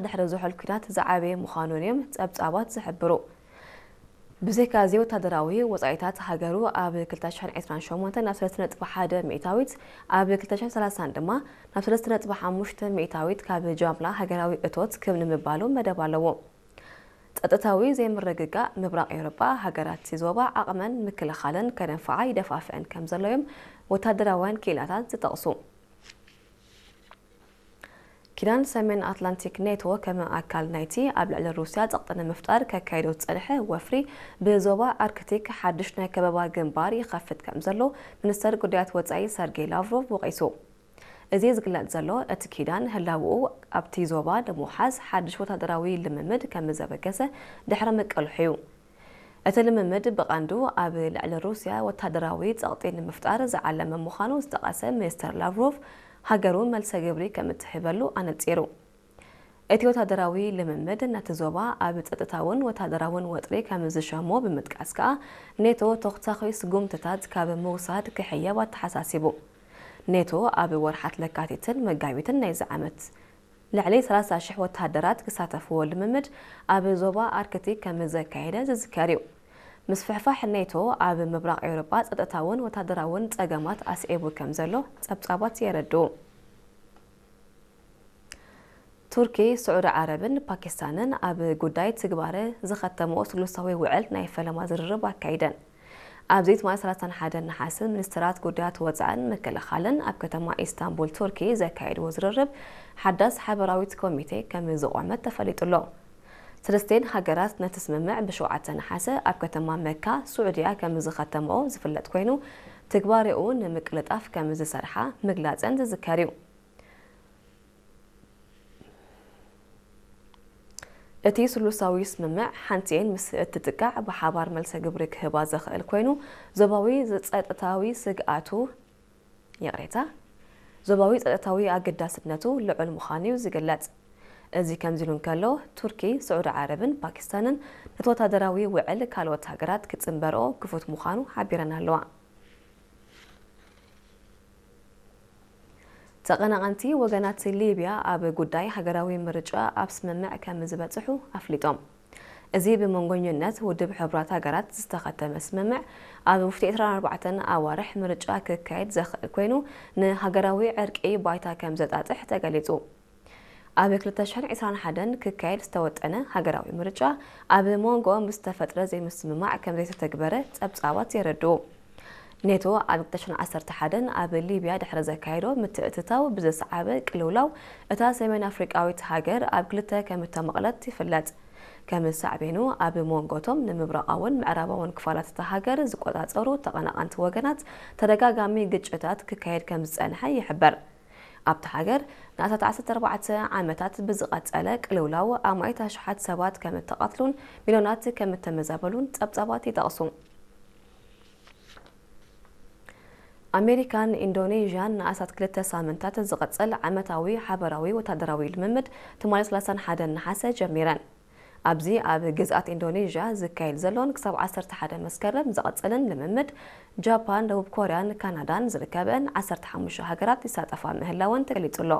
ድሕሪ ዝሑል ኲናት ዝዓበየ ምዃኑን እዮም ጸብጻባት ዝሕብሩ። ብዘይካ እዚ፣ ወታደራዊ ወጻኢታት ሃገሩ ኣብ ክልተ ሽሕን ዕስራን ሸሞንተን ናብ ሰለስተ ነጥቢ ሓደ ሚእታዊት፣ ኣብ ክልተ ሽሕን ሰላሳን ድማ ናብ ሰለስተ ነጥቢ ሓሙሽተ ሚእታዊት ካብ ጃምላ ሃገራዊ እቶት ክብ ንምባሉ መደብ ኣለዎ። ጸጥታዊ ዘይምርግጋእ ምብራቕ ኤውሮጳ፣ ሃገራት እቲ ዞባ ዓቕመን ምክልኻለን ከነንፍዓ ይደፋፍአን ከም ዘሎ እዮም ወታደራውያን ክኢላታት ዝጠቕሱ። ኪዳን ሰሜን ኣትላንቲክ ኔቶ ከም ኣካል ናይቲ ኣብ ልዕሊ ሩስያ ጸቕጢ ንምፍጣር ከካይዶ ዝጸንሐ ወፍሪ፣ ብዞባ ኣርክቲክ ሓድሽ ናይ ከበባ ግንባር ይኸፍት ከም ዘሎ ሚኒስተር ጉዳያት ወጻኢ ሰርጌይ ላቭሮቭ ወቒሱ። እዚ ዝግለጽ ዘሎ፣ እቲ ኪዳን ህላውኡ ኣብቲ ዞባ ንምውሓስ ሓድሽ ወታደራዊ ልምምድ ከም ዘበገሰ ድሕሪ ምቅልሑ እዩ። እቲ ልምምድ ብቐንዱ ኣብ ልዕሊ ሩስያ ወታደራዊ ጸቕጢ ንምፍጣር ዝዓለመ ምዃኑ ዝጠቐሰ ሚኒስተር ላቭሮቭ፣ ሃገሩ መልሰ ግብሪ ከም እትህበሉ ኣነጺሩ። እቲ ወታደራዊ ልምምድ ነቲ ዞባ ኣብ ጸጥታውን ወታደራውን ወጥሪ ከም ዝሸሞ ብምጥቃስ ከኣ፣ ኔቶ ተኹታኺ ስጉምትታት ካብ ምውሳድ ክሕየብ ኣተሓሳሲቡ። ኔቶ ኣብ ወርሓት ለካቲትን መጋቢትን ናይዚ ዓመት ልዕሊ ሰላሳ ሽሕ ወተሃደራት ክሳተፍዎ ልምምድ ኣብ ዞባ ኣርክቲክ ከም ዘካየደ ዝዝከር እዩ። ምስፍሕፋሕ ኔቶ ኣብ ምብራቕ ኤውሮጳ ጸጥታውን ወታደራውን ጸገማት ኣስዒቡ ከም ዘሎ ጸብጻባት የረድኡ። ቱርኪ፣ ስዑዲ ዓረብን ፓኪስታንን ኣብ ጉዳይ ትግባረ ዝኸተምኦ ስሉሳዊ ውዕል ናይ ፈለማ ዝርርብ ኣካይደን። ኣብዚ ትማሊ ሰላሳን ሓደን ነሓሰ፣ ሚኒስትራት ጉዳያት ወጻእን ምክልኻልን ኣብ ከተማ ኢስታንቡል ቱርኪ ዘካየድዎ ዝርርብ ሓዳስ ሓበራዊት ኮሚቴ ከም ዝቖመት ተፈሊጡ ኣሎ። ሰለስቴን ሃገራት ነቲ ስምምዕ ብሸውዓተ ነሓሰ ኣብ ከተማ መካ ስዑድያ ከም ዝኸተምኦ ዝፍለጥ ኮይኑ፣ ትግባሬኡ ንምቅልጣፍ ከም ዝሰርሓ ምግላጸን ዝዝከር እዩ። እቲ ስሉሳዊ ስምምዕ ሓንቲኤን ምስ እትጥቃዕ ብሓባር መልሰ ግብሪ ክህባ ዘኽእል ኮይኑ፣ ዞባዊ ጸጥታዊ ስግኣቱ፣ ይቕሬታ፣ ዞባዊ ጸጥታዊ ኣገዳስነቱ ልዑል ምዃኑ እዩ ዝግለጽ። እዚ ከምዚ ኢሉ እንከሎ፣ ቱርኪ፣ ስዑዲ ዓረብን ፓኪስታንን ነቲ ወታደራዊ ውዕል ካልኦት ሃገራት ክጽንበርኦ ክፉት ምዃኑ ሓቢረን ኣለዋ። ተቐናቐንቲ ወገናት ሊብያ ኣብ ጉዳይ ሃገራዊ ምርጫ ኣብ ስምምዕ ከም ዝበጽሑ ኣፍሊጦም። እዚ ብመንጎኝነት ውድብ ሕቡራት ሃገራት ዝተኸተመ ስምምዕ ኣብ ውሽጢ ዕስራን ኣርባዕተን ኣዋርሕ ምርጫ ክካየድ ዘኽእል ኮይኑ፣ ንሃገራዊ ዕርቂ ባይታ ከም ዘጣጥሕ ተገሊጹ። ኣብ ክልተ ሽሕን ዕስራን ሓደን ክካየድ ዝተወጠነ ሃገራዊ ምርጫ ኣብ መንጎኦም ብዝተፈጥረ ዘይምስምማዕ ከም ዘይተተግበረ ጸብጻባት የረድኡ። ኔቶ ኣብ ክልተ ሽሕን ዓሰርተ ሓደን ኣብ ሊብያ ድሕሪ ዘካየዶ ምትእትታው ብዘስዓበ ቅልውላው፣ እታ ሰሜን ኣፍሪቃዊት ሃገር ኣብ ክልተ ከም እተመቕለት ይፍለጥ። ከም ሳዕቤኑ፣ ኣብ መንጎቶም ንምብራቓውን ምዕራባውን ክፋላት እታ ሃገር ዝቆጻጸሩ ተቐናቐንቲ ወገናት ተደጋጋሚ ግጭታት ክካየድ ከም ዝጸንሐ ይሕበር። ኣብታ ሃገር ንኣስታት ዓሰርተ ኣርባዕተ ዓመታት ብዝቐጸለ ቅልውላው ኣማኢት ኣሽሓት ሰባት ከም እተቐትሉን ሚልዮናት ከም እተመዛበሉን ጸብጻባት ይጠቕሱ። ኣሜሪካን ኢንዶኔዥያን ንኣስታት ክልተ ሳምንታት ዝቐጽል ዓመታዊ ሓበራዊ ወታደራዊ ልምምድ ትማሊ ሰላሳን ሓደን ነሓሰ ጀሚረን። ኣብዚ ኣብ ግዝኣት ኢንዶኔዥያ ዝካየድ ዘሎን ክሳብ ዓሰርተ ሓደ መስከረም ዝቐጽልን ልምምድ፣ ጃፓን፣ ደቡብ ኮርያን ካናዳን ዝርከበን ዓሰርተ ሓሙሽተ ሃገራት ይሳተፋ ምህላወን ተገሊጹ ኣሎ።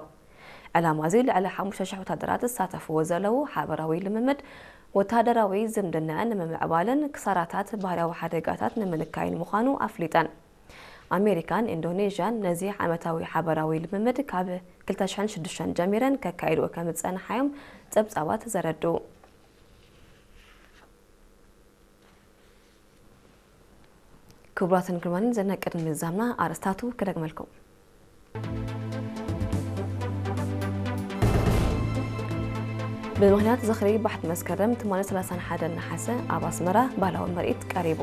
ዕላማ እዚ ልዕሊ ሓሙሽተ ሽሕ ወታደራት ዝሳተፍዎ ዘለዉ ሓበራዊ ልምምድ፣ ወታደራዊ ዝምድናን ንምምዕባልን ክሳራታት ባህርያዊ ሓደጋታት ንምንካይን ምዃኑ ኣፍሊጠን። ኣሜሪካን ኢንዶኔዥያን ነዚ ዓመታዊ ሓበራዊ ልምምድ ካብ ክልተ ሽሕን ሽዱሽተን ጀሚረን ከካይድዎ ከም ዝጸንሓ እዮም ጸብጻባት ዘረድኡ። ክቡራትን ክቡራንን፣ ዘና ቅድሚ ምዛምና ኣርእስታቱ ክደግመልኩም። ብምኽንያት ዝኽሪ ባሕቲ መስከረም ትማሊ ሰላሳን ሓደን ነሓሰ ኣብ ኣስመራ ባህላዊ ምርኢት ቀሪቡ።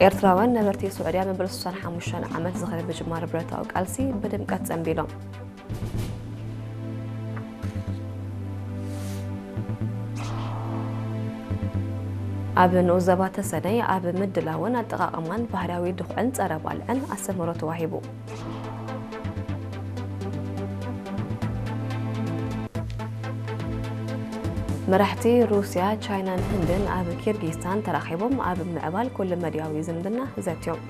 ኤርትራውያን ነበርቲ ስዑድያ መበል ስሳን ሓሙሽተን ዓመት ዝኽሪ ምጅማር ብረታዊ ቃልሲ ብድምቀት ጸንቢሎም። ኣብ ንኡስ ዘባ ተሰነይ ኣብ ምድላውን ኣጠቓቕማን ባህርያዊ ድኹዕን ጸረ ባልዕን ኣስተምህሮ ተዋሂቡ። መራሕቲ ሩስያ፣ ቻይናን ህንድን ኣብ ኪርጊስታን ተራኺቦም ኣብ ምዕባል ኩሉ መድያዊ ዝምድና ዘትዮም።